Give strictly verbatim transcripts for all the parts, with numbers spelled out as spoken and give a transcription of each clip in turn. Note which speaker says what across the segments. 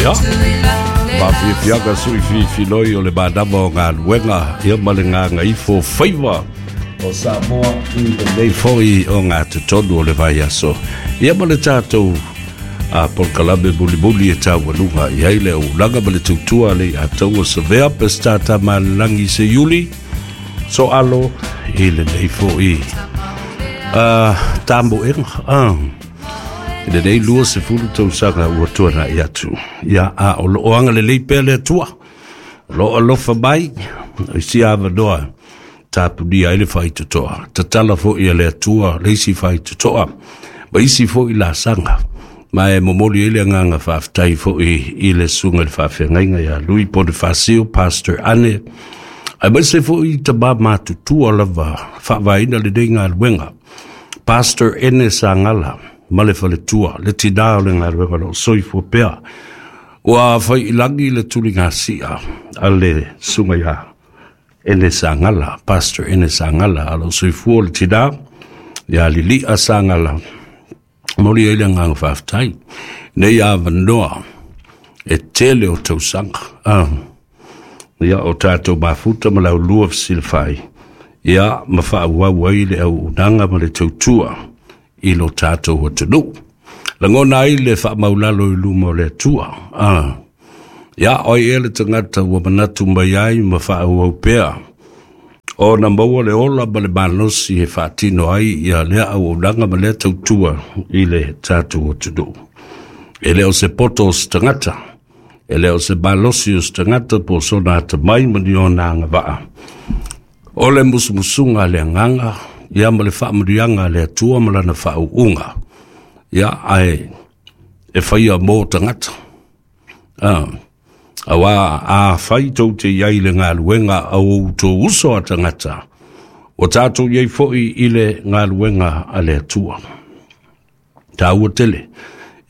Speaker 1: Ia, faafiafiaga sui filifiloi o le manava o galuega ia ma le gagaifo faiva o Samoa i lenei foi o gatotonu o le vaiaso ia ma le tatou a polokalame mulimuli e taualuga i ai le auaunaga ma le tautua a le iatau Savea Peseta Tamalelagi Seiuli Soalo i lenei foi a tamoega a i lenei lua sefulu tausaga ua tuana'i atu. Ia, a o loo agalelei pea le Atua, o loo alofa mai i si avanoa tapunia ai le faitotoa tatala foi a le Atua le isi faitotoa ma isi foi lasaga. Ma e momoli ai le agaga faafetai foi i le susuga i le faafeagaiga ia Lui Ponifasio, Pastor Ane, aemaise foi tamā matutua lava faavaeina lenei galuega, Pastor Ene Sagala ma le faletua, le tinā o le galuega o loo soifua pea. Ua faiilagi le tuligasia a le susuga ia Ene Sagala, Pastor Ene Sagala, a loo soifua le tinā ia Lilia Sagala. Moli ai le agaga faafetai nei avanoa e tele o tausaga ah. Ia o tatou mafuta ma laulua fesilafai ia ma faaauau ai le auaunaga ma le tautua i lo tatou atunuu. Lagona ai le faamaulalo i luma o le Atua. Ah. Ia oi ea le tagata ua manatu mai ai ma faaauau pea ona maua le ola ma le malosi e faatino ai ia lea auaunaga ma lea tautua i le tatou atunuu. E le o se poto o se tagata, e le o se malosi o se tagata po o sona atamai ma ni ona agavaa. O le musumusuga a le agaga ia ma le faamanuiaga a le Atua ma lana faauuga ia ae e faia mo tagata. Ah. Aua a fai tou te iai le galuega a outou uso a tagata, ua tatou iai foi i le galuega a le Atua. Taua tele.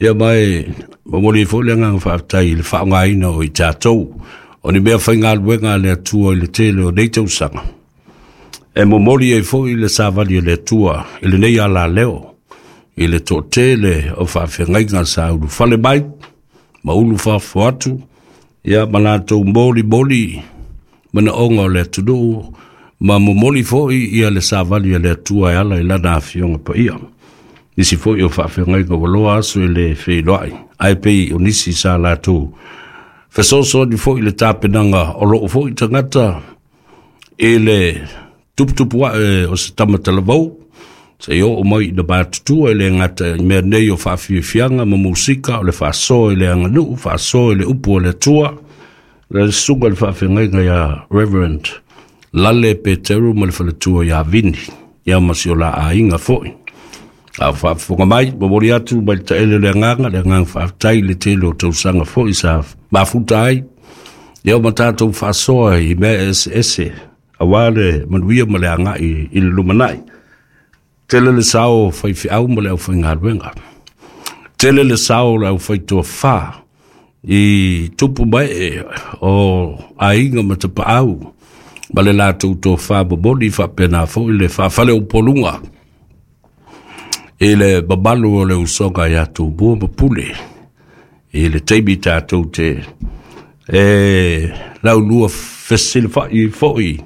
Speaker 1: Ia mai momoli ai foi le agaga faafetai i le faaaogaina o i tatou o ni mea faigaluega a le Atua i le tele o nei tausaga. E momoli ai foi le savali a le Atua i lenei alaleo i le toatele o faafeagaiga sa ulufale mai ma ulu fafo atu ia ma latou molimoli manaoga o le atunuu ma momoli foi ia le savali a le Atua e ala i lana afioga paia. Nisi foi o faafeagaiga ua loa aso i le feiloai, ae pei o nisi sa latou fesoasoani foi i le tapenaga o loo foi tagata i le tuputupu ae o se tamatalavou se i oo mai ina matutua i le gata i mea nei o faafiafiaga ma musika o le faasoa i le aganuu, faasoa i le upu o le Atua. Le susuga i le faafeagaiga ia Reverend Lale Peteru ma le faletua ia Vini ia ma si o la aiga foi. A o faafofoga mai, momoli atu mai le taele o le agaga, le agaga faafetai i le tele o tausaga foi sa mafuta ai ia ma tatou faasoa i mea eseese aua le manuia ma le agai i le lumanai. Tele le sao o faifeau ma le aufaigaluega. Tele le sao o le aufaitofa i tupu mae o aiga ma tapaau ma le latou tofa momoli faapena foi le faafaleupoluga i le mamalu o le usoga ia Tumua ma Pule i le taimi tatou te e laulua fesilafai foi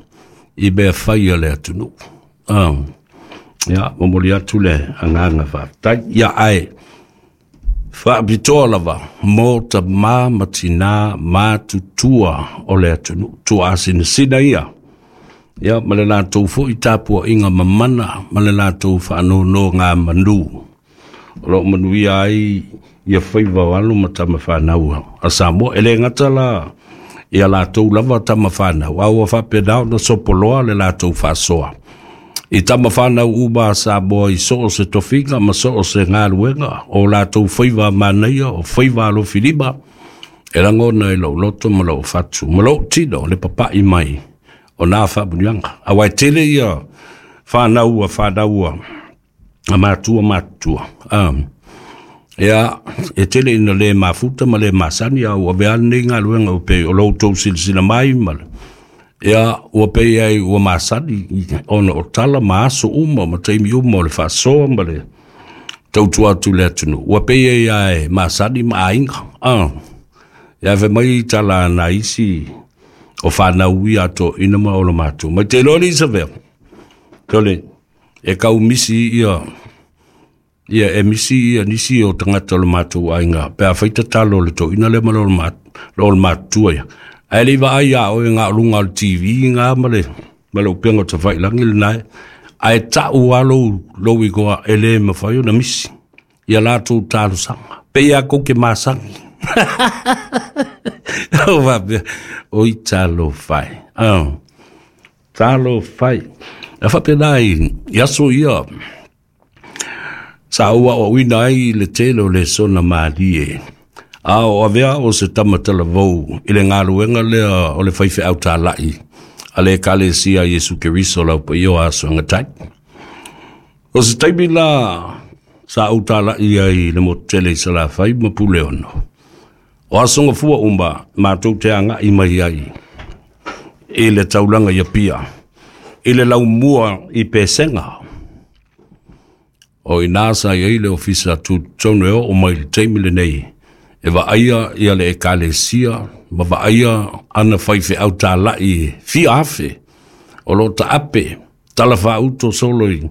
Speaker 1: i mea fai a le atunuu. Ah. Ia, momoli atu le agaga faafetai. Ia, ae faapitoa lava mo tamā ma tinā matutua o le atunuu, tuaasinasina ia. Ia, ma le latou foi tapuaiga mamana ma le latou faanonogamanu o loo manuia ai ia faiva o alo ma tama fanau a Samoa. E le gata la ia latou lava tama fanau, a ua faapena ona sopoloa le latou faasoa i tama fanau uma a Samoa i so o se tofiga ma so o se galuega o latou faiva manaia o faiva alofilima e lagona i lou loto ma lou fatu ma lou tino le papa'i mai o nā faamuniaga. Aua e tele ia fanau a fanau a matua matutua. Um, ia, e tele ina le mafuta ma le masani a ua avea lenei galuega ua pei o lo outou silasila mai ma le ia ua pei ai ua masani ona o tala ma aso uma ma taimi uma o le faasoa ma le tautua atu i le atunuu. Ua pei ai ae masani ma aiga. Ah. Ia fe mai tala na isi o whanau i ato ina ma o le mātou. Mai te loa ni sa vea. Tole, e kau misi ia, ia e misi ia nisi o tangata o le mātou ainga. Pe a whaita talo le to ina le ma lo le mātua ia. Ai le iwa ai a o e ngā lunga o le T V ngā ma le, ma le upenga o te whailangi le nai. Ai tau alo lo i goa e le mawhai o na misi. Ia lātou talo sanga. Pe ia koke māsangi. O wapea, o i talo whai. Oh, talo whai. A whapea nai, i aso ia, sa ua o uina ai le tele o le sona mālie. A o avea o se tamatala vau i le ngāluenga lea o le whaiwhe au tālai. A le kalesia Yesu Keriso lau pa iyo aso ngatai. O se taimi la sa au tālai ai le motele i sala whai ma pule ono. O asonga fua umba mātou te anga i mai ai. I le taulanga ia pia. I le lau mua i pesenga. O i nā sa i le ofisa tu tonu e o mai le taimi le nei. E wa aia ia le ekalesia, ma wa aia ana whaiwhe au tālai fia afe, o lo ta ape, tala whauto solo i,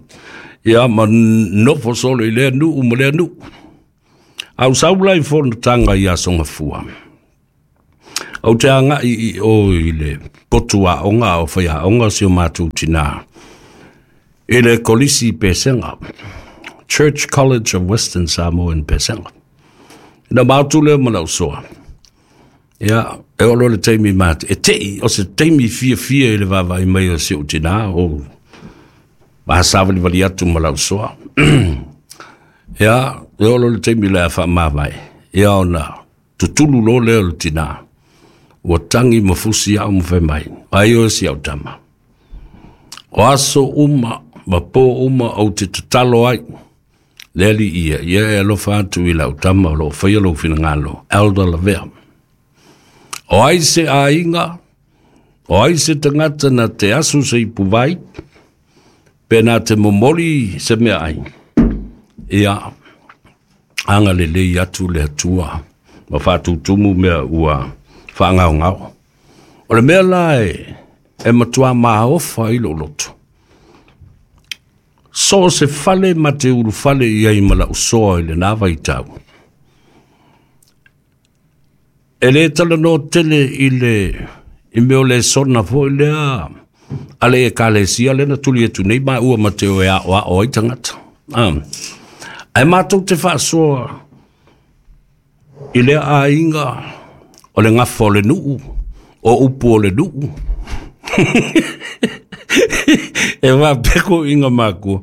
Speaker 1: ia ma nofo solo i lea nuu ma lea nuu. Au saula i whonatanga i asonga fua. Au te anga i i o i le potua onga o whaia onga si o mātou tina. I le kolisi pesenga, Church College of Western Samoa in Pesenga. Na mātou lea mana usoa. Ia, e olo le teimi māte. E tei, o se teimi fia fia i le vava i mai o se utina, o mahasawali wali atu mala usoa. Ia, e olo le teimi lea wha māmai. Ia ona, tutulu lo lea le tina. Ua tangi mafusi au mwhai mai. Ai o si au tama. O aso uma, ma pō uma au te tatalo ai. Leli ia, ia e alofa atu i lau tama o lo whaia lo whinangalo, Elder Lavea. O ai se ainga, o ai se tangata na te asu se ipuwai, pe na te momori se mea ai. Ia, anga le lei atu le atua, ma whātūtumu mea ua whaangao ngao. O le mea la e, e matua maofa i lo loto. So se fale ma te uru fale ia i mala usoa i le nā vaitau. E le tala no tele i le i meo le sona fo i lea ale e kalesia le na tuli e tunei ma ua ma te o e a o a o ai tangata. Um, ai mātou te whaasoa i lea ainga o le ngafa o le nuu, o upu o le nuu. E wā peko inga mākua.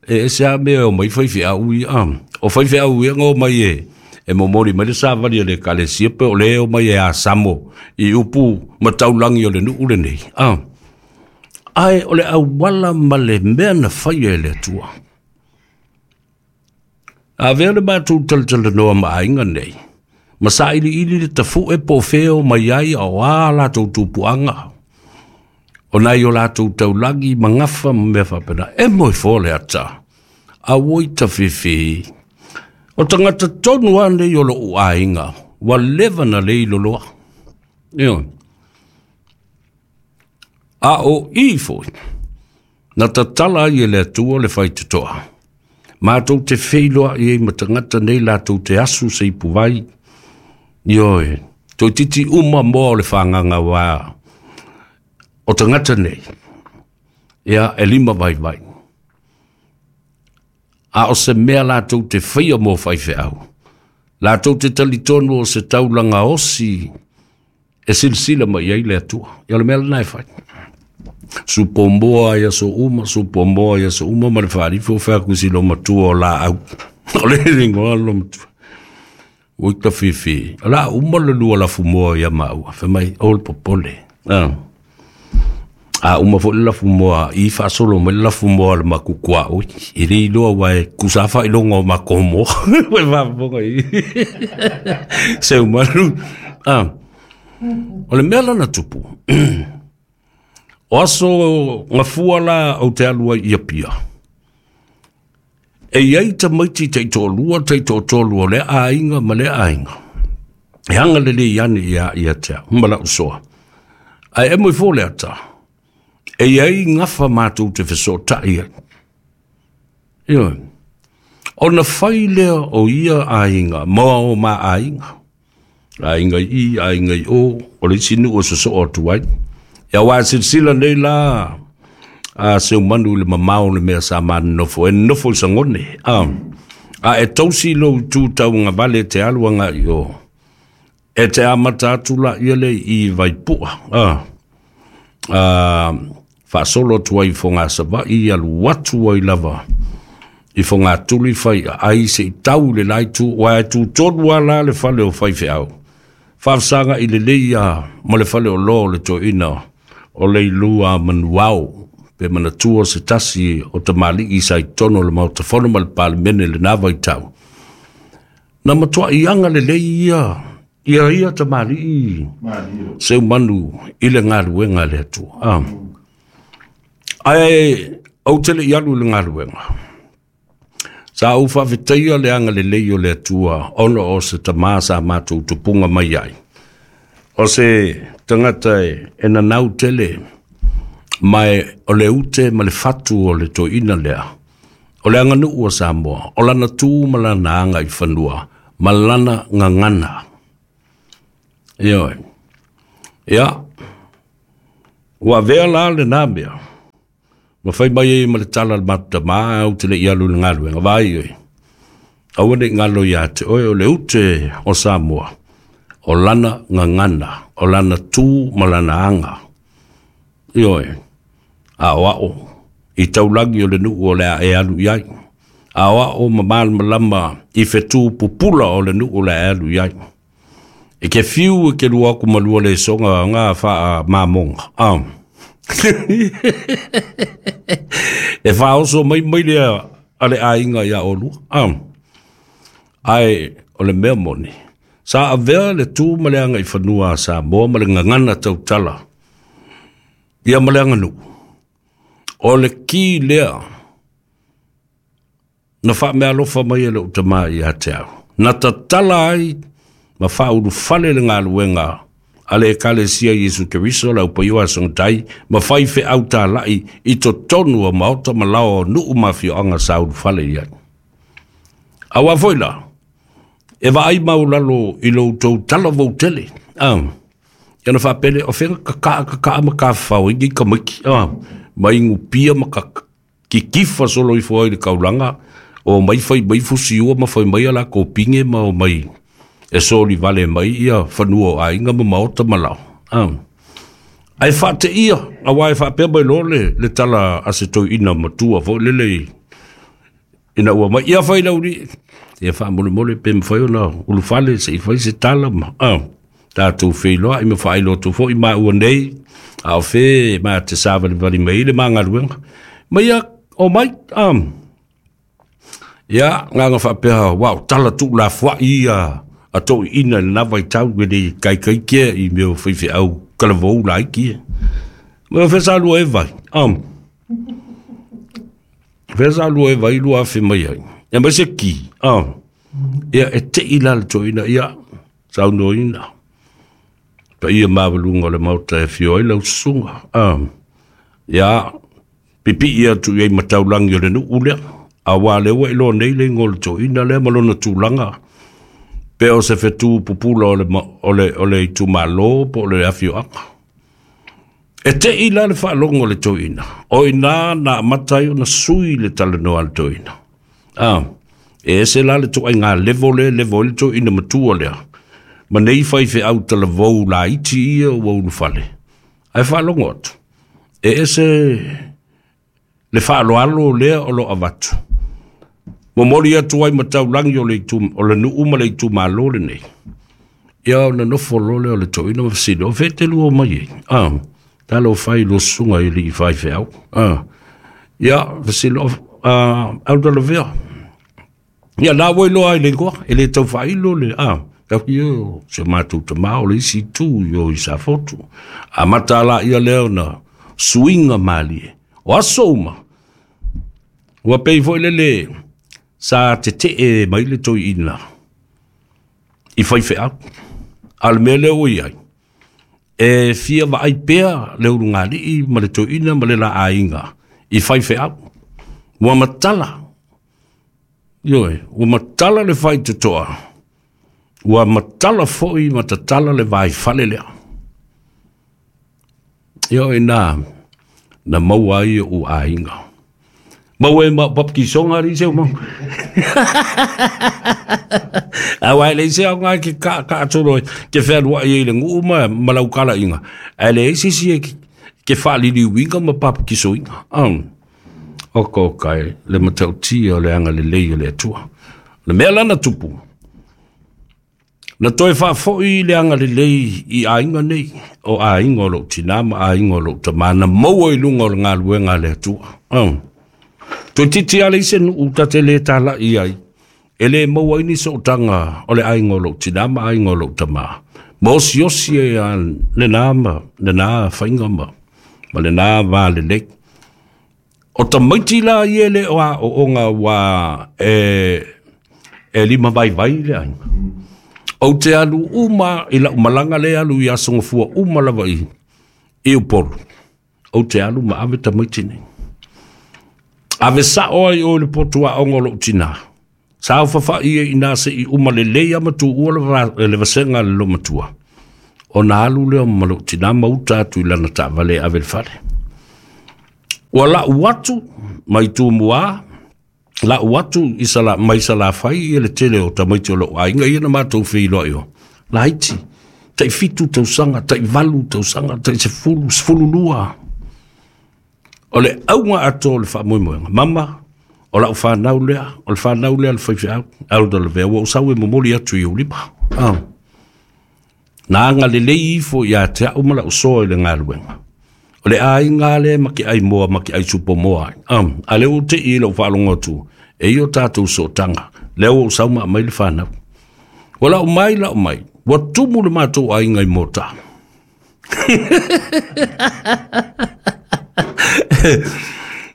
Speaker 1: E se a mea o mai whaiwhi au i a. O whaiwhi au i a ngō mai e. E momori mai le sāwari le kalesia pe o le o mai e a samo i upu mataulangi o le nuu le nei. A. Ai o le awala ma le mea na whaia e le atua. A vea le mātou talatala noa ma ainga nei. Ma sa ili ili le tafu e po wheo mai ai o a lātou tupuanga. O nai o lātou taulangi mangafa mea whapena. E moi fōle ata. A woi ta whiwhi. O tangata tonu ane i o lo uainga. Wa lewa na lei loloa. Io. A o i foi. Na tatala i le atua le whaititoa. Mātou te wheiloa i e matangata nei lātou te asu se ipuwai. Ioe. Toi titi uma moa o le whanganga wā. O tangata nei, ia e lima vai vai. A o se mea lātou te whaia mō whaiwheau. Lātou te talitonu o se taulanga osi e silisila mai ai le atua. Ia le mea lanai whai. Supomboa ia so uma, supomboa ia so uma, ma le whaarifo whakusi lo matua o la au. O le ringoa lo matua. Ui ka whiwhi. La uma le lua la fumoa ia maua. Whamai, o le popole. Ah. A uma fo le fumoa i faasolo mai le fumoa le makukua oi e le iloa ua e kusafa i loga o makomo ua faafofoga i seu malu a o le mea lana tupu o aso gafua la ou te alu ai ia pia e iai tamaiti taitoalua taitoatolu o lea aiga ma lea aiga E hanga le le ane ia ia te au, ma lau soa. Ae e mo i fō le ata, e iai ngafa mātou te fesotai ai. Ioe. Ona fai lea o ia aiga, moa o ma aiga. Aiga i, aiga i o, o le isi nuu o sosoo atu ai. Ia wā silasila nei la a Seumanu i le mamao o le mea sa manonofo, e nonofo i Sagone. A, a e tausi lou tu tauagavale e te alu agai i o. E te amata atu la ia le i Vaipua. A, a, faasolo atu ai i Fogasavaii, alu atu ai lava i Fogatuli fai ai se i tau i le la itu, ua e tu tonu lava la le fale o faifeau. Faafesaga i lelei ia ma le fale o loa o le toeaina o Leilua Manuao, pe manatua se tasi o tamalii sa i totonu o le Maota Fono ma le Palemene i lena vaitau. Na matuai aga lelei ia ia ia tamalii Seumanu i le galuega a le Atua. Ah. Ae ou te le i alu i le galuega. Sa ou faafetaia le agalelei o le Atua ona o se tamā sa matou tupuga mai ai. O se tagata e, e nanau tele, ma e, o le ute ma le fatu o le toeaina lea. O le aganuu a Samoa, o lana tu ma lana aga i fanua, ma lana gagana. Ioe. Ia, ua avea la lena mea, ma fai mai ai ma le tala a le matou tamā, ou te le i alu i le galuega, vaai oe, aua ne i galo iā te oe, o le ute o Samoa, o lana gagana, o lana tu ma lana aga. Ioe, a o ao i taulagi o le nuu o le a e alu i ai. A o ao ma malamalama i fetu pupula o le nuu o le a e alu i ai. E ke fiu e ke lua aku ma lua le soga ngā whaa mamonga. Ah. E whaoso mai mai lea a le aiga ia olua. Ah. Ae o le mea moni. Sa avea le tu ma le aga i fanua a Samoa ma le gagana tautala ia ma le aganuu. O le ki lea na faamealofa mai e lou tamā ia te au. Na tatala ai ma faaulufale le galuega a le Ekalesia Iesu Keriso le aupaioa a Sogatai ma fai feau talai i totonu o maota ma laoa o nuu ma afioaga sa ulufale i ai. Auā foi la, e vaai maulalo i lo outou talavou tele. Ah, ia na faapele, o fea kakaa kakaa ma kafafao ai nei tamaiti. Ah, ma igupia ma ka kikifa solo ifo ai i le kaulaga, o mai fai mai fusiua ma fai mai a lakou pine ma o mai e soli vale mai ia fanua o aiga ma maota ma lao. Ah. Ae faateia, auā e faapea mai loa le, le tala a se toeaina matua foi lele ina ua mai, ia fai lau alii, ia faamolemole pe mafai ona ulufale se i fai se tala ma, ah, tatou feiloai ma faailoa atu foi maua nei, a o fē ma te savalivali mai ai le ma galuega. Ma ia o mai, ah, ia, agaga faapea, ua o tala tuulafoai ia a toeaiina i lena vaitau e le kaikaikia i mea o faifeau talavou laiti ia. Ma o fea sa lua e vai, ah, fea sa lua e vai lua afe mai ai. Ia mai se ki, ah, ia e tei la le toeaina, ia, saunoaina. Paia maualuga o le Maota e afio ai lau susuga. Ah, ia, pipii atu i ai ma taulagi o le nuu lea, auā lea ua iloa nei le igoa o le toeaina lea ma lona tulaga, pe o se fetu pupula o le, o le, o le itumalo po o le afioaga. E tei la le faalogo o le toeaina, o i inā na amata ai ona sui le talanoa a le toeaina. Ah, e ese la le ituaiga level lea e level ai le toeaina matua lea, ma nei faifeau talavou laiti ia ua ulufale. Ae faalogo atu, e ese le faaaloalo lea o lo o avatu. Momoli atu ai ma taulagi o le itu, o le nuu ma le itumalo lenei. Ia ona nofo loa lea o le toeaina ma fesili, o fea e te lua mai ai? Ah, talofa e i lua susuga i alii faifeau. Ah, ia, fesili, o, ah, Autalavea. Ia, la ua iloa ai le igoa, e le tau faailo le, ah, tau ki o si o matou tamā o le isi itu i o i Safotu. Amata la ia lea ona suiga malie. O aso uma, ua pei foi lele sa tetee mai le toeaina i faifeau. A le mea lea ua i ai, e fia vaai pea le ulugalii ma le toeaina ma le la aiga i faifeau. Ua matala, ioe, ua matala le faitotoa, ua matala foi ma tatala le vaifale lea. Ioe na, na maua ai ou aiga. Maua e ma papikisoga ali se mau. Aua e leai se aoga ke ka ka tolo ke whenua i le nuu ma ma lau kalaiga. Ae leai se isi e ke whaaliliuiga ma papikisoiga. Um, oka oka e le matautia o le agalelei o le Atua. Le mea lana tupu, na toe faafoi le agalelei i aiga nei, o aiga o lou tinā ma aiga o lou tamā, na maua i luga o le galuega a le Atua. Um, Toeitiiti lava leai se nuu ta te lē tala'i ai, e lē maua ai ni sootaga o le aiga o lou tinā ma aiga o lou tamā. Ma osiosi ai a lenā ma lenā faiga ma, ma lenā va lelei. O tamaiti la ia e le o aooga ua e, e lima vaivai le aiga. Ou te alu uma i lau malaga le alu i aso gafua uma lava i, i Upolu. Ou te alu ma ave tamaiti nei. Ave sao ai o le potu aoga o lou tinā. Sa fafa'i e inā se'i uma lelei ama tuua le, va, le vasega a le lomatua. Ona alu lea ma lou tinā ma uta atu i lana taavale e ave le fale. Ua la'u atu mai Tumua, la'u atu i sala, mai Salafai ia le tele o tamaiti o lou aiga ia na matou feiloai o. Laiti, tai fitu tausaga, tai valu tausaga, tai sefulu, sefulu lua. O le auga atoa o le faamoemoega. Mama, o lau whanau lea, o le whanau lea le faifeau, Elder Lavea, ua ou sau e momoli atu i ou lima. Ah. Na agalelei ifo ia te au ma lau soa i le galuega. O le aiga lea ma ke ai moa ma ke ai supo moa ai. Um, a lea ua tei i lau faalogo atu, e i o tatou sootaga, lea ua ou sau ma aumai le whanau. Ua lau mai, lau mai, ua tumu le matou aiga i Mota.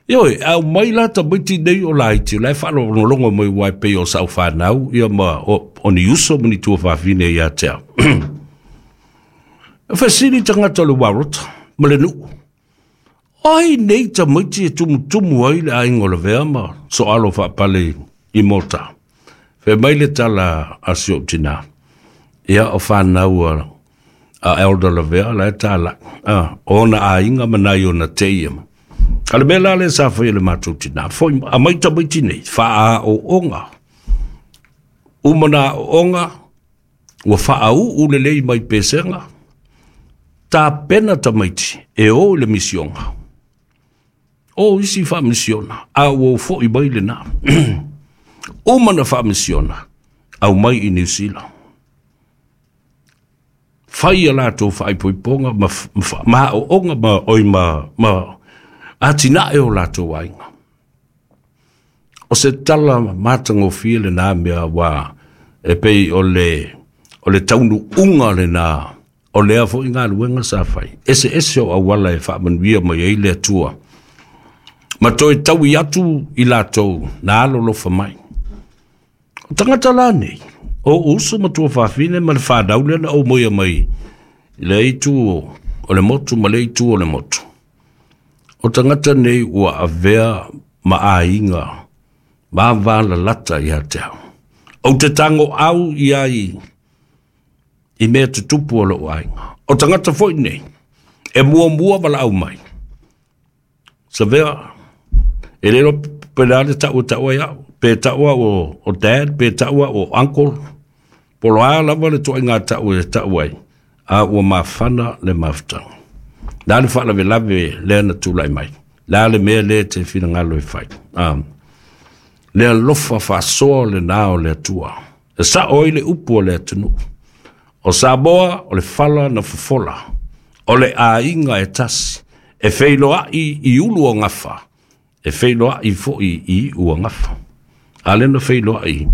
Speaker 1: Ioe, au mai la tamaiti nei o laiti, o la e faalogologo mai ua e pei o sau whanau, ia ma o, o ni uso ma ni tuafafine ia te au. Fesili tagata o le Warota ma le nuu. Ai nei tamaiti e tumutumu ai le aiga o Lavea ma soalo faapale i Mota. Fai mai le tala a si ou tinā. Ia o whanau a, a Elder Lavea la e tala. Ah, ona aiga ma nai ona teia ma. A le mea la le sa fai e le matou tinā. Foi a mai tamaiti nei, faaooga. Uma na aooga, ua faauu lelei mai pesega, tapena tamaiti e o i le misioga. O isi faamisiona, a ua fo'i mai lenā. Uma na faamisiona, au mai i Niu Sila. Fai a latou faaipoipoga ma, ma, ma aooga ma oi ma, ma atinae o latou aiga. O se tala matagofie lenā mea ua e pei o le, o le taunuuga lenā o lea fo'i galuega sa fai. Ese ese o auala e faamanuia mai ai le Atua. Ma toe taui atu i latou na alolofa mai. O tagata la nei, o uso ma tuafafine ma le whanau lea na ou moia mai i le itu o le motu ma le itu o le motu. O tagata nei ua avea ma aiga vavalalata ia te au. Ou te tango au i ai i mea tutupu o lou aiga. O tagata foi nei, e muamua valaau mai. Savea, e le iloa pe le a le tau e tau ai au, pe tau au o, o dad, pe tau au o uncle, po o a lava le toaiga tau e tau ai, a ua mafana le mafutaga. Le a le faalavelave lea na tulai mai, le a le mea lea te finagalo e fai. Um, le alofa faasoa lenā o le Atua. E sao ai le upu o le atunuu. O Samoa o le fala na fofola, o le aiga e tasi, e feiloai i ulu o gafa, e feiloai foi i iu o gafa. A lea na feiloai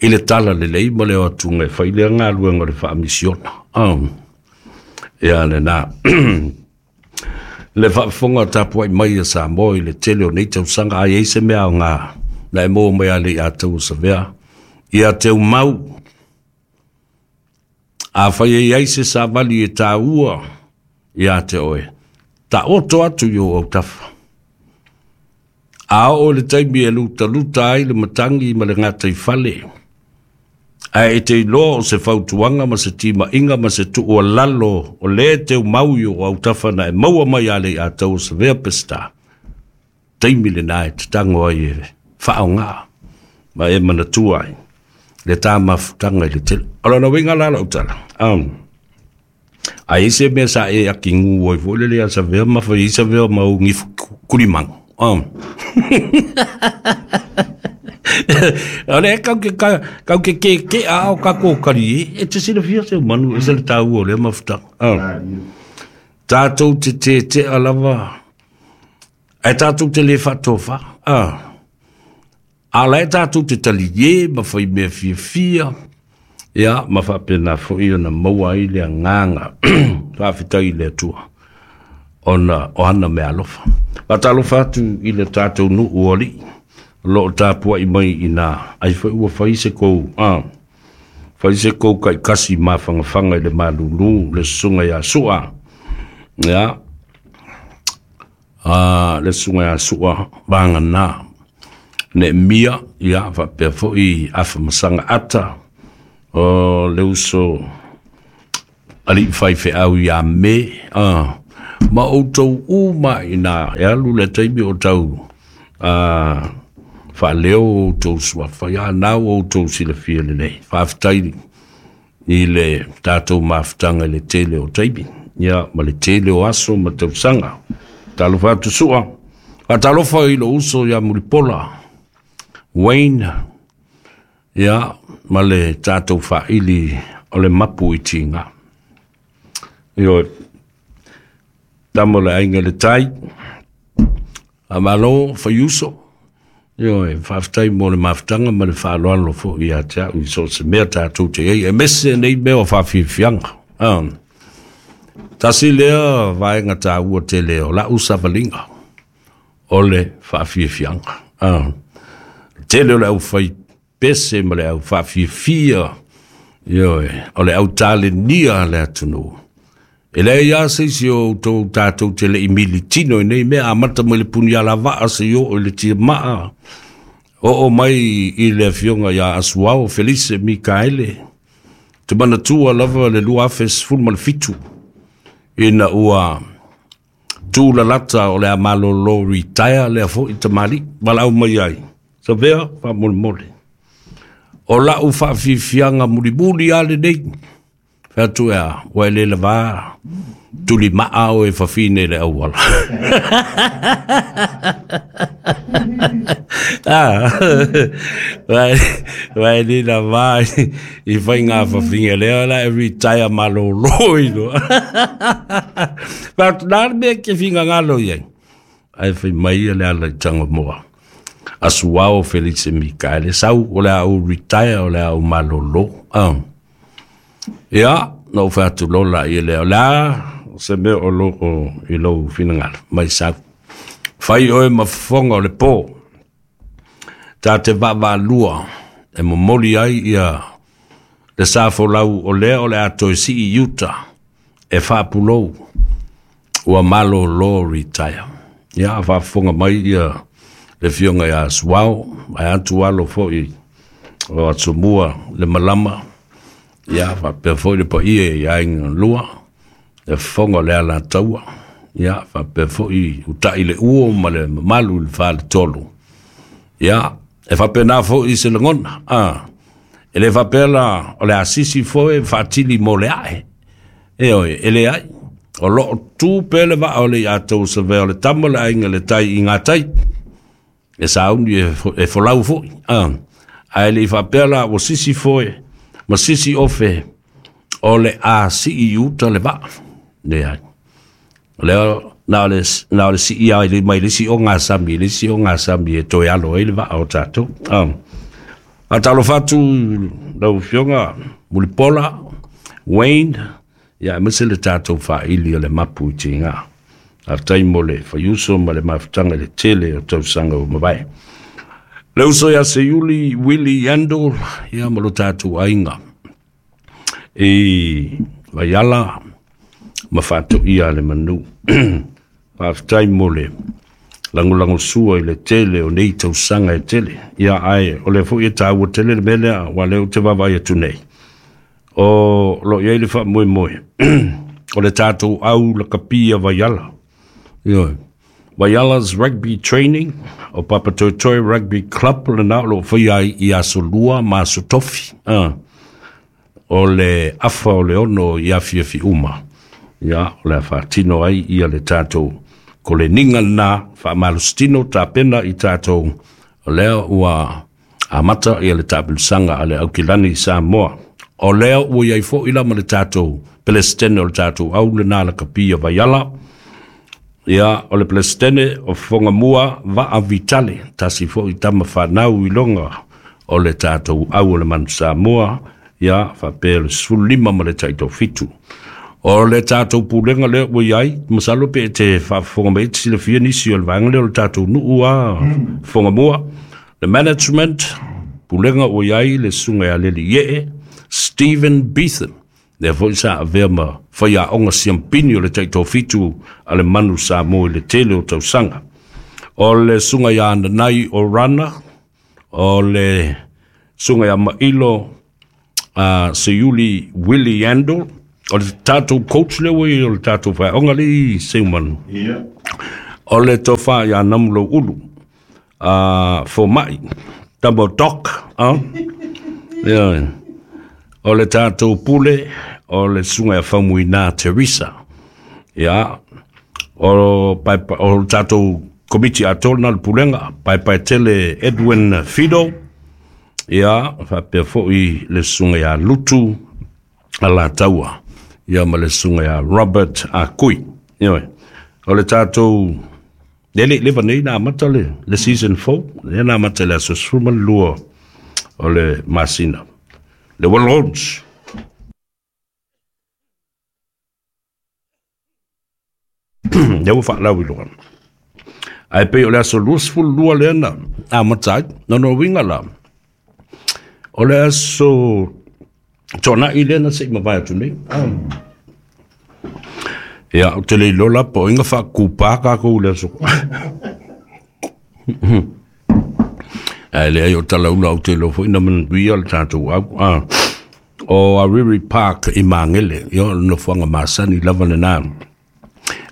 Speaker 1: i le tala lelei ma le o atuga e fai lea galuega o le faamisiona. Um, ia lenā. Le faafofoga tapuai mai a Samoa i le tele o nei tausaga, a i ai se mea aoga na e maua mai a le ia tau o Savea. Ia Teumau, A fai e ai se savali e tāua ia te oe. Ta oto atu i o autafa. A o le taimi e luta luta ai le matangi ma le ngata i fale. A e te iloa o se fautuanga ma se tima inga ma se tuu lalo o le te umau i o autafa na e maua mai ale i a tau o se vea pesta. Taimi le nae te tango ai e whaonga ma e manatua ai le tā mafutanga i le tele. Ora na winga lala utala. Um, a ese mea sa e aki ngu oi fo le a sa vea ma fa isa vea ma ungi kulimang. Um. Ora kau ke kau ke ke ke a o ka ko kari e te sila fia se manu e se le tāua o le mafutanga. Um. Tātou te te te alava. E tātou te le whatofa. Ah. A lai tātou te tali ye, ma whai mea fia fia. Ia, ma whapena fo i ona maua i le nganga. Whawhitai i le atua. Ona, o hana mea alofa. Wha atu i le tātou nu uali. Lo tāpua i mai i nā. Ai whai ua whai se kou. Ah. Whai se kou kai kasi mā whangawhanga i le malulu, le sunga ia sua. Ia. Ah, le sunga ia sua, wanga nā. Ne mia, ia, whapea foi afa masanga ata, o le uso ali whai wheau ia me, ah, ma o tau uma i nā, e alu le taimi o tau, ah, wha leo o tau sua, whai a nau o tau silafia le nei, whawhitai i le tātou mafutanga i le tele o taimi, ia, ma le tele o aso ma tau sanga, talofa atu sua, a talofa i lo uso ia Mulipola, Wayne, ia, ma le tātou whaili o le mapu i tinga. Io, tamo le ainga le tai, a malo whaiuso, io, e whawhitai mo le mafutanga ma le whaaloalo fo i a te au i so se mea tātou te ei, e mese nei mea o whawhiwhianga. Um, tasi lea vaenga tāua te leo, la usavalinga o le whawhiwhianga. Um, tele o le au whai pese ma le au whawhiwhia, io e, o le au tale nia le atunu. E lea ia se isi o tō tātou te le i militino i nei mea, a mata mai le puni ala waa se i o le tia maa. O o mai i le afionga ia Asuao, Felice Mikaele, te manatua lava le lua afe sefulu ma le fitu, ina ua tū lalata o le a malolo retire lea fo i tamali, walau mai ai. Sa vea, wha mole mole. O lau whawhiwhianga mulimuli ale nei. Whatu ea, wa ele lava, tuli maa o e whawhine le awala. Ah, wa ele lava i whai ngā whawhinga lea, la e retire malolo ino. Whatu nā mea ke whinga ngalo iai. Ai whai mai le ala i tanga moa. Asuao Felice Mikaele sau o le au retire o le au malolo. Ah. Ia, no whatu lola i leo la, se mea o lo o i lou finangalo, mai sau. Whai oe mafonga o le pō, tā te vava lua, e momoli ai ia le sāfolau o lea o le atoe si i Utah, e whapulou, ua malolo retire. Ia, whafonga mai ia le fionga ia Asuao, ai atu alo foi o atsumua le malama, ia whapea foi le paia i ainga lua, le fonga le ala taua, ia whapea foi utai le uo ma le mamalu le whale tolu. Ia, e whapea nā foi se langona, ah, e le whapea la o le asisi foi whaatili mo le ae, e oi, e le ai, o loo tū pele waa o le i atou sa vea o le tama le ainga le tai i ngā tai, e sauni e, e folau foi. Ah. A ele i whapea la o sisi foi, ma sisi ofe, o le a si i uta le waa. Ne ai. Leo, nā o le, nā o le si i ai le mai le si o ngā sami, le si o ngā sami e toi alo e le waa o tātou. Ah. A talo whatu lau fionga, Mulipola, Wayne, ia e mese le tātou whaili o le mapu i te ngā. A taimo le whaiuso ma le mafutanga le tele o tausanga o mawae. Le uso ia se Yuli, Willie Yandol, ia ma lo tātou ainga. I Vaiala ma faatoia le manu. Faafetai mo le lagolago sua i le tele o nei tausaga e tele. Ia ae o le foi e taua tele le mea lea ua lea ou te vaavaai atu nei. O lo o i ai le faamoemoe o le tatou au lakapia Vaiala. Ioe. Vaiala's Rugby Training o Papatoetoe Rugby Club lena o lo o faia ai i aso lua ma aso tofi. Ah. O le afa o le ono i afiafi uma. Ia, o le a faatino ai ia le tatou koleniga lena faamalositino tapena i tatou o lea ua amata ia le taapilusaga a le Aukilani i Samoa. O lea ua iai foʻi la ma le tatou Pelestene o le tatou au lena lakapia Vaiala. Ia, o le Pelestene o Fogamua Vaa Vitale, tasi foʻi tama fanau i loga o le tatou au o le Manu Samoa, ia faapea le sefululima ma le taitofitu. O le tatou pulega lea ua iai, masalo pe e te faafofoga mai e te silafia nisi o le vaega lea o le tatou nuu a Fogamua. Le management, pulega ua iai le susuga ia Leliee Stephen Beetham, lea foi sa avea ma faiaoga siampini o le taitofitu a le Manu Samoa i le tele o tausaga. O le susuga ia Nanai Orana, o le susuga ia Mailo uh, Seiuli Willie Andel, o le tatou coach lea ua i o le tatou faeaoga le i Seumanu.
Speaker 2: Ia.
Speaker 1: O le tofa ia Namulo Ulu, uh, Fomai, Tamo Doc, uh? Yeah. O le tatou pule, o le susuga ia Faumuina Teresa. Ia, o, pae, o le tatou komiti atoa lena le pulega, Paepaetele Edwin Fido, ia, faapea foʻi le susuga ia Lutu Alataua, ia ma le susuga ia Robert Akui. Ioe. O le tatou le le leva nei na amata le, le season four, lea na amata i le aso sefulu ma le lua o le masina. Le Walrons. Lea ua faalau i luga. Ae pei o le aso luasefulu lua lea na amata ai. Lona uiga la, o le aso toanai lea na seʻi mavae atu nei. Ia, ou te le iloa la po o iga faakupā takou i le aso. Ae leai o talaula ou te iloa foi na manuia le tatou au. Ah. O Ariri Park i Magele, ia o le nofoaga masani lava lena.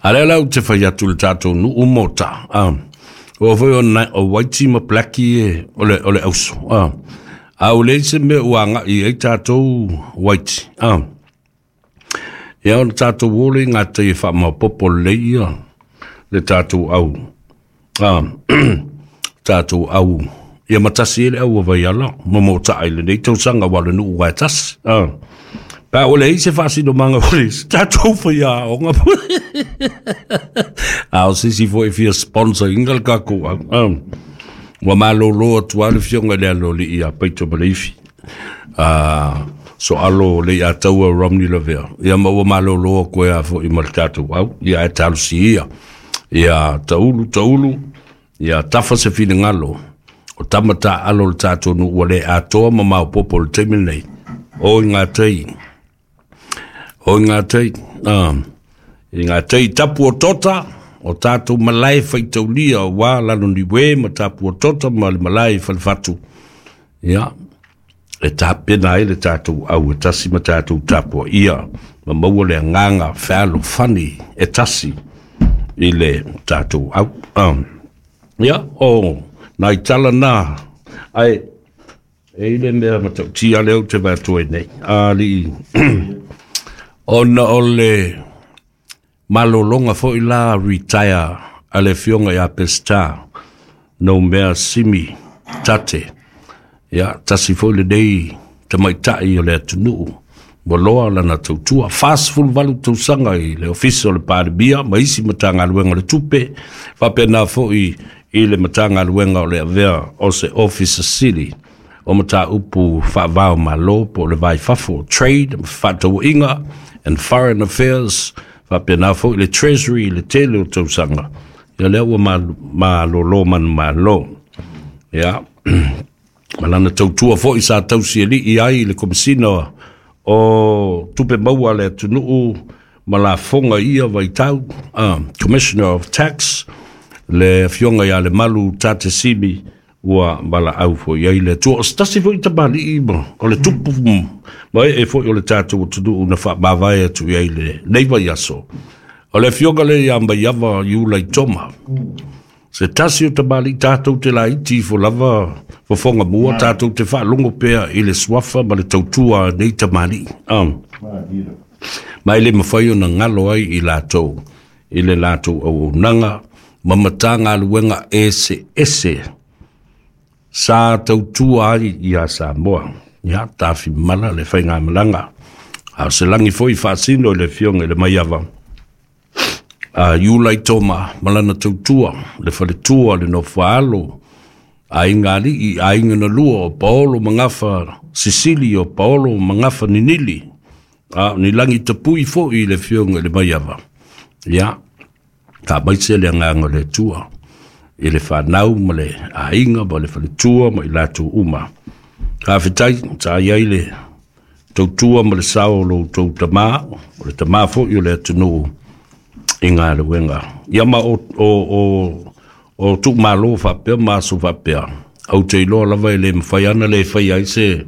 Speaker 1: A lea la ou te fai atu le tatou nuu mota. Ah. O foi o, na, o Whitey ma Blackie e, o le, o le auso. Ah. A o leai se mea ua agaʻi ai tatou Whitey. Ah. Ia o le tatou o le i gatai e faamaopopo lelei ia le tatou au. Ah. Tatou au. Ia matasi e le au o Vaiala, ma motaʻa i lenei tausaga ua o le nuu wae tasi. Ah. Pa o le ai se faasinomaga o le tatou faiaoga. A o se isi foi e fia sponsor ina le tatou au. Ah. Ua malōlō atu lava le fioga i le aloalii ia Paito ma Leifi. Ah, soalo le ia taua Romney Lavea. Ia ma ua malōlō atu ai a foʻi ma le tatou au. Ia ae talosi ia. Ia taulu taulu, ia tafa se finagalo. O tama taaalo le tatou nuu ua le atoa ma maopoopo i le taimi lenei. O i gatei. O i gatei. Ah. I gatei tapu o tota, o tatou malae faitaulia ua lalo niue ma tapu o tota ma le malae falefatu. Ia, e tapena ai le tatou au e tasi ma tatou tapua ia, ma maua le agaga fealofani e tasi i le tatou au. Ah. Ia, o nai tala na, ae, e i le mea matautia lea ou te vaai atu ai nei. Alii, ona o le malologa foi la retire a le afioga ia Pesita Noumea Simi Tate. Ia, tasi foi lenei tamaitai o le atunuu ua loa lana tautua. Fasefuluvalu tausaga i le ofisa o le Palemia ma isi Matagaluega o le Tupe, faapena foi i le Matagaluega o le avea o se Ofisa Sili o mataupu faavao malo po o le vai fafo, trade, fefaatauaiga and foreign affairs, faapena foi le Treasury i le tele o tausaga. Ia lea ua malōlō manumalo. Ia, ma lana tautua foi sa tausialii ai i le Komesina o tupe maua le atunuu ma lafoga i ia vaitau, uh, Commissioner of Tax, le afioga ia Lemalu Tate Simi, ua valaau foi ai le Atua. O se tasi foi tamalii ma o le tupu ma ee foi o le tatou atunuu na faamavae atu i ai lenei vaiaso. O le afioga lea ia Maiava Iula i Toma. Se tasi o tamalii tatou te laiti ifo lava fofoga mua, tatou te faalogo pea i le suafa ma le tautua a nei tamalii. Um. Ma e le mafai ona galo ai i latou, i le latou auaunaga ma matagaluega eseese sa tautua ai ia Samoa. Ia tafimala le faigamalaga. A o se lagi foi faasino i le afioga i le Maiava a Iula i Toma ma lana tautua, le faletua, le nofoaalo, aiga alii, aiga na lua o Paolo Magafa Sisili, o Paolo Magafa Ninili, a ni lagi tapui foi i le afioga i le Maiava. Ia, faamaise le agaga o le Atua i le fanau ma le aiga ma le faletua ma i latou uma. Faafetai, sa i ai le tautua ma le sao o lo outou tamā, o le tamā foi o le atunuu i galuega. Ia ma o, o, o, o tuumalo faapea ma aso faapea, ou te iloa lava e le mafai ana le fai ai se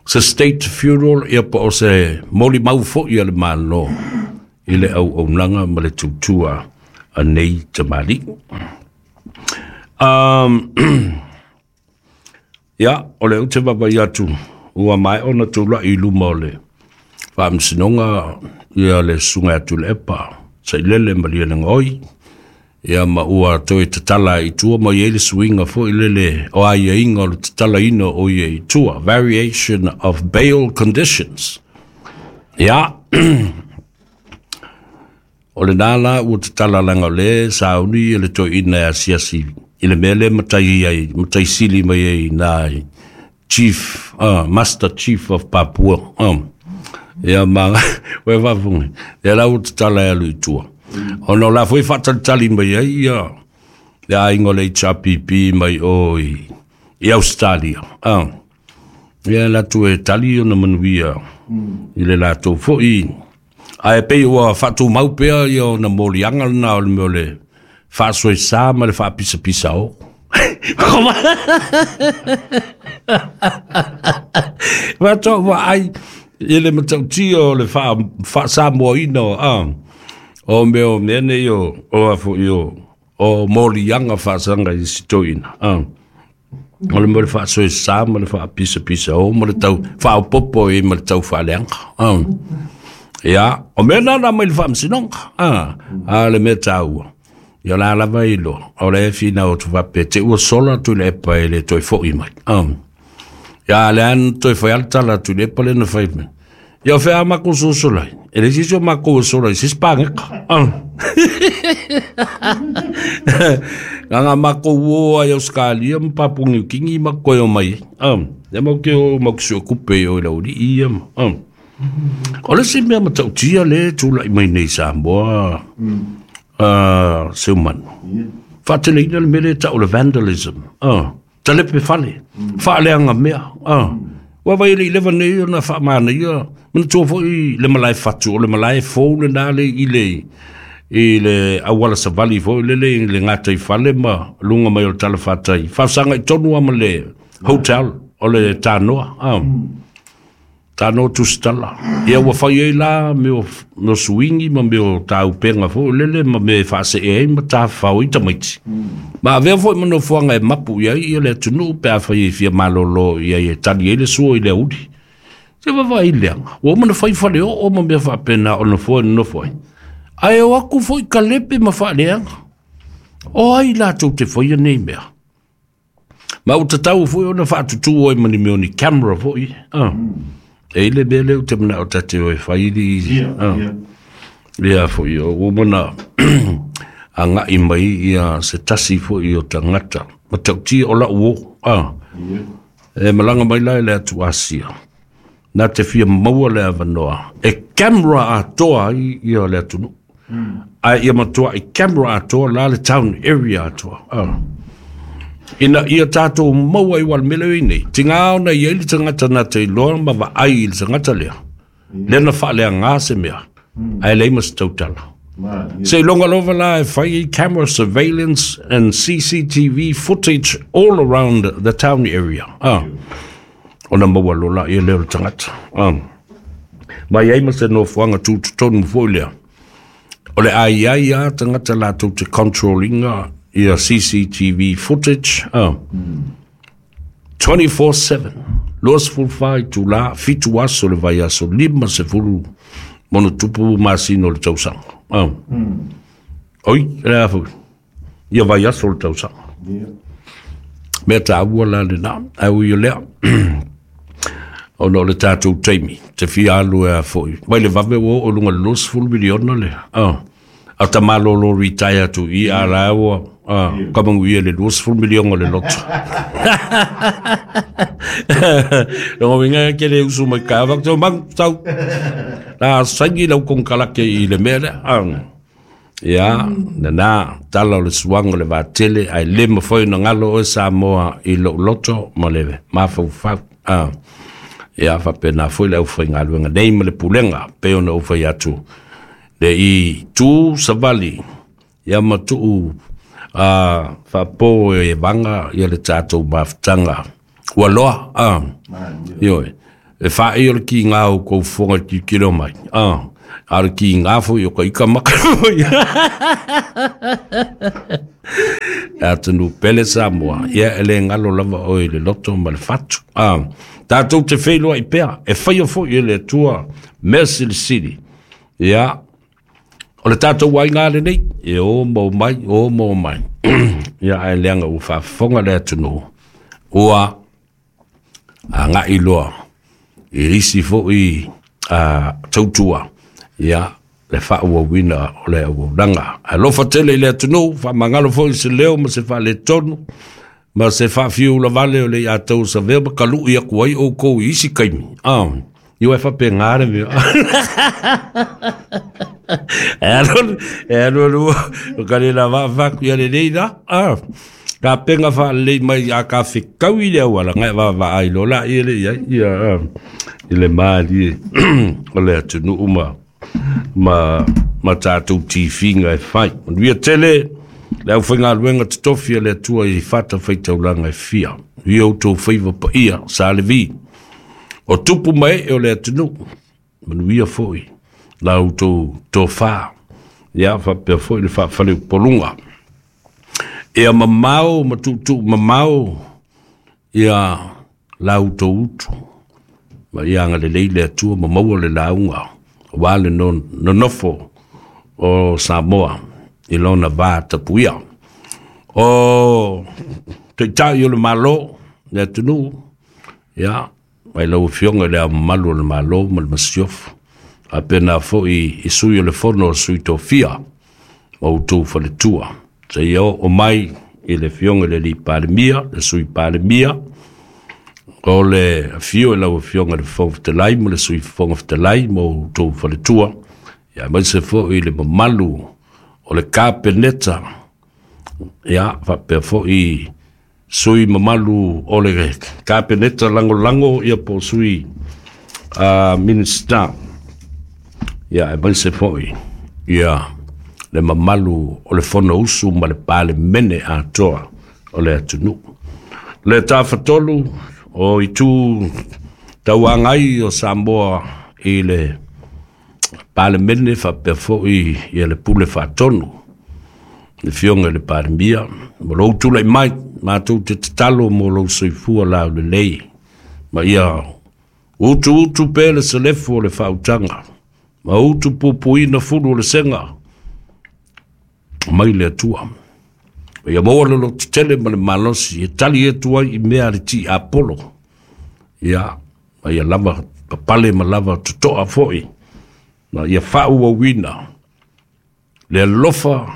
Speaker 1: se state funeral, ia po o se molimau foi a le Malo i le auaunaga ma le tautua a nei tamalii. Um, ia, o le ute vaavaai atu, ua maea ona tula'i i luma o le faamasinoga ia le susuga ia Tuilaepa Sailele Malielegaoi, ia ma ua toe tatala i tua ma i ai le suiga foi lele o aiaiga o le tatalaina o ia i tua, variation of bail conditions. Ia, o lena la ua tatala laga o lea sauni le toeaina e asiasi i le mea lea matai ai, matai sili mai ai na Chief, uh, Master Chief of Papua. Um, ia ma ua faafofoga, ia la ua tatala e alu i tua. Ona o la foi faatalitali mai ai ia le aiga o le H R P P mai o i, i Australia. Uh, ia latou e tali ona manuia i le latou foi. Ae pei ua faatumau pea ia ona moliaga lena o le mea o le faasoesa ma le faapisapisa o. Faatoa vaai i le matautia o le faasamoaina o a o mea o mea nei o o a foi o o moliaga faasaga i sitoina. A o le mea o le faasoesa ma le faapisapisa o ma le tau faaopopo ai ma le tau faaleaga. A ia, o mea na na mai le faamasinoga. A a le mea taua. Ia la lava i loa, o le fina o tuvape, te ua sola Tuilaepa e le toe foi mai. Um. Ia le an toe foi ala tala Tuilaepa le na fai mai. Ia o fea mako sosolai, e le sisi o mako sola i sisi pāngeka. Um. Ngā mako ua ai Australia ma Papua New Guinea ma koe o mai. Um. Ia mau ke o mau kisua kupe o i lauri ia. Um. O le si mea matautia le tūlai mai nei Samoa. Mm. Uh, seumanu. Yeah. Faateleina le mea lea tau le vandalism. Uh, talepe fale. Mm. Faaleaga mea. Uh. Mm. Ua vai le i leva nei ona faamanaia. Manatua foi le malae fatu o le malae fou lena le i le i le auala savali foi lele i le gata i fale ma luga mai o le talafatai. Faasaga i tonu lava ma le hotel o le Tanoa. Uh. Mm. Tanoa tusitala. Ia ua fai ai la mea o suingi ma mea o taupenga foi lele ma mea e faasee ai ma tafafao ai tamaiti. Ma avea foi ma nofoaga e mapu i ai ia le atunuu pe afai e fia malolo i ai e tali ai le sua i le auli. Se vaavaai leaga. Ua uma na fai fale oo ma mea faapena o nofoa e nonofo ai. Ae o aku foi kalepe ma faaleaga. O ai latou te faia nei mea. Ma ua tatau foi ona faatutū ai ma ni mea o ni camera foi. Ah. E ile mea lea o te manao tate o e whairi. Ia, ia foi o umana angai mai ia se tasi foi o tangata. Matautia o lau o. Ah. E malanga mai la e le atu Asia. Nā te fia maua le avanoa. E camera atoa ai ia le atunu. Ai ia matua e camera atoa la le town area atoa. Ah. Ina ia tātou maua i wale mele i nei. Tinga ona ia ili tangata na te iloa ma va ai i le tangata lea. Lena whaalea ngā se mea. Ai lei mas tautala. Se longa lova la e whai camera surveillance and C C T V footage all around the town area. Ah. Ona maua lola ia leo le tangata. Ah. Mai ai ma se nofoanga tūtutonu foi lea. O le ai ai a tangata lātou te controllinga ia C C T V footage. Ah. twenty-four seven. Los fulfai tula fitu aso le vai aso lima se fulu mono tupu masino le tausanga. Ah. Oi, le afu. Ia vai aso le tausanga. Mea tā ua la le nā. Au ia lea. O no le tātou teimi. Te fia alu e a foi. Mai le vave o o lunga los fulu miliona le. Ah. A ta malolo retire tu i a la ua. Ah, kamangu ia le los fulu miliona le loto. Longo winga ke le usu mai ka vak to mang tau. La sangi lau kong kalake i le mea lea. Ah. Ia, nana, tala o le suanga le vatele, ai le mawhai na ngalo o Samoa i lo loto ma le mafaufau. Ah. Ia, whapena foi le au whai ngā nei ma le pulenga, pe ona au whai atu. Le i tū savali, ia matuu a whapo e vanga, ia le tātou mawhtanga. Ua loa, ah. Ioi, e whae o le ki ngā o kou whonga ki kiro mai. Ah. A le ki ngā fo i o ka ika maka foi. Atunu pele Samoa, ia ele ngalo lava o i le loto ma le fatu. Ah. Tātou te whailoa i pea, e whaia fo i le tua mea silisili. Ia, o le tātou wai ngā le nei, e o mau mai, o mau mai. Ia, ai leanga ua whaafonga le atunu. Ua, a ngā iloa, i isi fo i a, tautua. Ia, le whaua wina o le auaunanga. Alofa tele i le atunu, whamangalo fo i se leo ma se whaale tonu, ma se whawhiu la vale o le ia tau sa vea ma kalu ia kuai o kou i isi kaimi. Ah, iwa e whape ngāre mea. E anu, e anu anu, o ka le la whaku ia le leina. Ah, ka penga whaalei mai a ka whikau i le awala, ngai wā ai lola i le ia, ia, i le maali o le atunu uma ma, ma tātou tīwhinga e whai. Manuia tele, le au whainga luenga te tofi le atua i whata whaitaulanga e fia. Ia o tō whaiva pa ia, sa le vi. O tupu mai e o le atunu, manuia foi, la au tō tō whā. Ia whapea foi le whawhale upolunga. Ea mamao, matutu mamao, ia la au tō utu. Ma ia anga le leile atua, mamaua le launga. Wale no nonofo o Samoa i lona vā tapuia. O te tai o le malo, le atunu, ia, mai lau fionga le au malu o le malo ma le masiofu. A pena foi i sui o le fono o sui tofia, ma utou faletua. Se ia o mai i le fionga le li palemia, le sui palemia, o le fio e lau fionga le foftelai ma le sui foftelai ma utou faletua. Ia mai se foi i le mamalu o le kapeneta, ia, whapea foi sui mamalu o le kapeneta lango lango, ia po sui uh, minista. Ia, e mai se foi, ia, le mamalu o le fono usu ma le pale mene atoa o le atunu. Le tāwhatolu o i tū tauangai o Samoa i le pale mene whapea foi ia le pule whatonu. Le fionga le palemia. Mo lou tūlai mai, mātou te tatalo mo lou soifua lau le lei. Ma ia utu utu pe le selefu o le whautanga. Ma utu pupuina fulu o le senga. Mai le atua. Ia maua lolo tetele ma le malosi. E tali e tua i mea le ti Apollo. Ia, ma ia lava papale ma lava tutoa foi. Ma ia whaua wina. Le alofa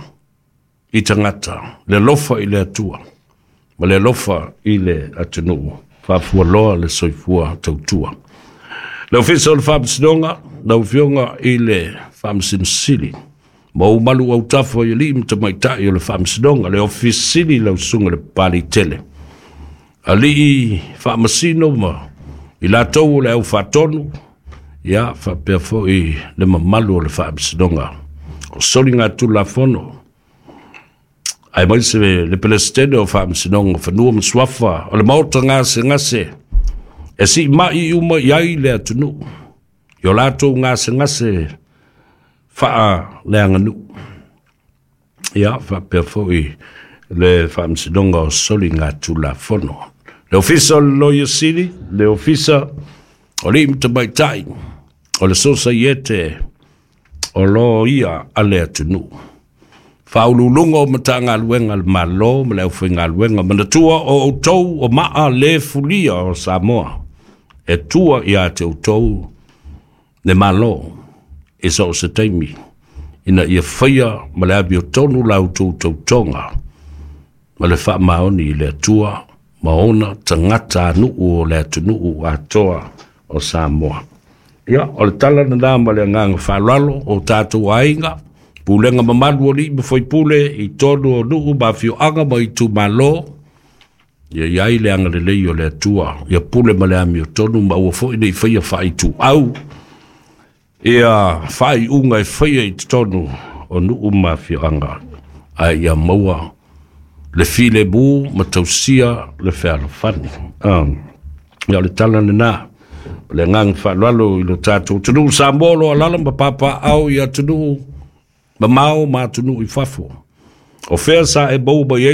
Speaker 1: i tangata. Le alofa i le atua. Ma le alofa i le atunuu. Whaafua loa le soifua tautua. Le ofisa o le whaamasinonga, lau fionga i le whaamasinosili. Ma ou malu autafa i alii ma tamaitai o le Faamasinoga, le Ofisa Sili lau Susuga i le Papalii Tele, alii faamasino ma i latou o le aufaatonu, ia faapea foi le mamalu o le Faamasinoga o Soligatulafono, aemaise le Peresetene o Faamasinoga o Fanua ma Suafa, o le Maota gasegase e siimai uma i ai le atunuu i o latou gasegase faaleaganuu. Ia faapea foi le Faamasinoga o Soligatulafono, le Ofisa o le Loia Sili, le Ofisa o Alii ma Tamaitai o le Sosaiete o Loia a le atunuu, faauluuluga o Matagaluega a le Malo ma le aufaigaluega. Manatua o outou o maa le fulia o Samoa, e tua ia te outou le Malo i so o se taimi, ina ia faia ma le amiotonu la outou tautoga ma le faamaoni i le Atua ma ona tagatanuu o le atunuu atoa o Samoa. Ia, o le tala lena ma le agaga faaaloalo o tatou aiga, pulega mamalu o alii ma faipule i totonu o nuu ma afioaga ma itumalo, ia i ai le agalelei o le Atua, ia pule ma le amiotonu, ma aua foi ne i faia faaituau ia faaiuga e faia i totonu o nuu ma afioaga, ae ia maua le filemu ma tausia le fealofani. Um, ia o le tala lena o le agaga faaaloalo i lo tatou atunuu Samoa o lo o alaala ma papaaao i atunuu mamao ma atunuu i fafo. O fea sa e maua mai ai?